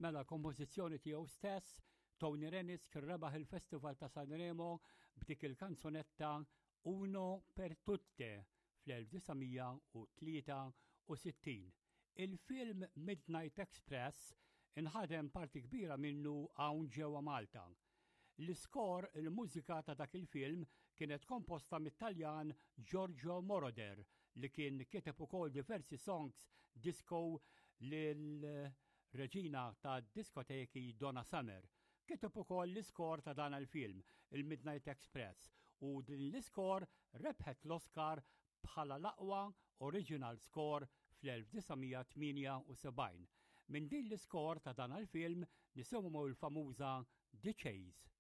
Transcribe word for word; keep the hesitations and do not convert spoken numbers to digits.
Mela kompożizzjoni tiegħu stess, Tony Renis kien rebaħ il-Festival ta' Sanremo b'dik il-kanzunetta Uno per tutte fl-elf disa' mija u tlieta u sittin. Il-film Midnight Express inħadem parti kbira minnu hawn ġewwa Malta. L-iskor, il-mużika ta' dak il-film kienet komposta mit-Taljan Giorgio Moroder, li kien kiteb ukoll diversi songs disco lil reġina ta' diskoteki Donna Summer. Kiteb ukoll l-iskor ta' dan il-film, il-Midnight Express, u din l-iskor rebħet l-Oscar bħala l-aqwa original score fl-elf disa' mija tmienja u sebgħin. Minn din l-iskor ta' dan il-film nisimgħu l-famuża The Chase.